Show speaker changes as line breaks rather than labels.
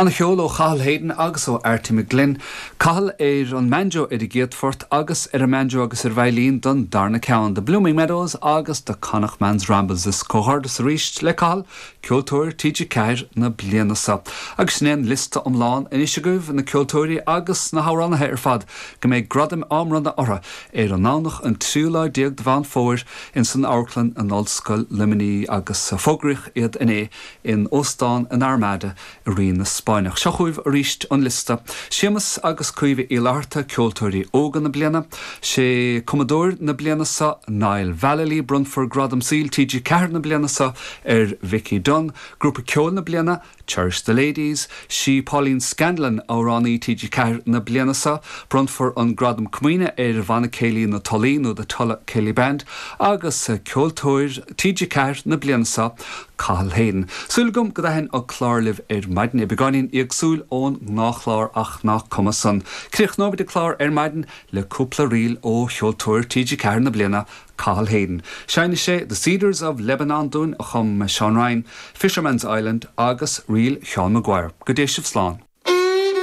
Ana-cheol ó Chathal Hayden agus ó Arty McGlynn. Cathal ar an mbanjo ar an gcéad phort agus ar an mbanjo agus ar veidhlín don darna ceann, The Blooming Meadows agus The Connacht Man's Rambles. Is comhghairdeas arís le Cathal, Ceoltóir TG4 na bliana seo. Agus sin é an liosta iomlán anois agaibh, na ceoltóirí agus na hamhránaithe ar fad go mbeidh gradaim á mbronnadh orthu ar an nDomhnach an tríú lá déag de Mheán Fómhair ins an Amharclann in Ollscoil Luimnigh agus fógraíodh iad inné in Óstán an Armada i Rinn na Spáinneach. Seo chugaibh arís an liosta, Séamus agus Caoimhe Uí Fhlatharta, Ceoltóirí Óga na Bliana, Sé Cumadóir na bliana seo Niall Vallely, Bronnfar Gradam Saoil TG4 na bliana seo ar Vicky Dunne, Grúpa Ceoil na Bliana, Cherish the Ladies, Sí Pauline Scanlon Amhránaí TG4 na bliana seo, Bronnfar an Gradam Comaoine ar Bhanna Céilí na Tulaí nó The Tulla Céilí Band agus Ceoltóir TG4 na bliana seo, Cathal Hayden. Súil agam go dtaithin an clár libh ar maidin. É beagáinín éagsúil ón ngnáthchlár ach nach cuma san. Críochnóimid an clár ar maidin le cúpla ríl ó cheoltóir TG4 na bliana, Cathal Hayden. Seinnfidh sé The Cedars of Lebanon dúinn a chum Seán Ryan, Fisherman's Island agus ríl Sheán Maguire. Go dté sibh slán.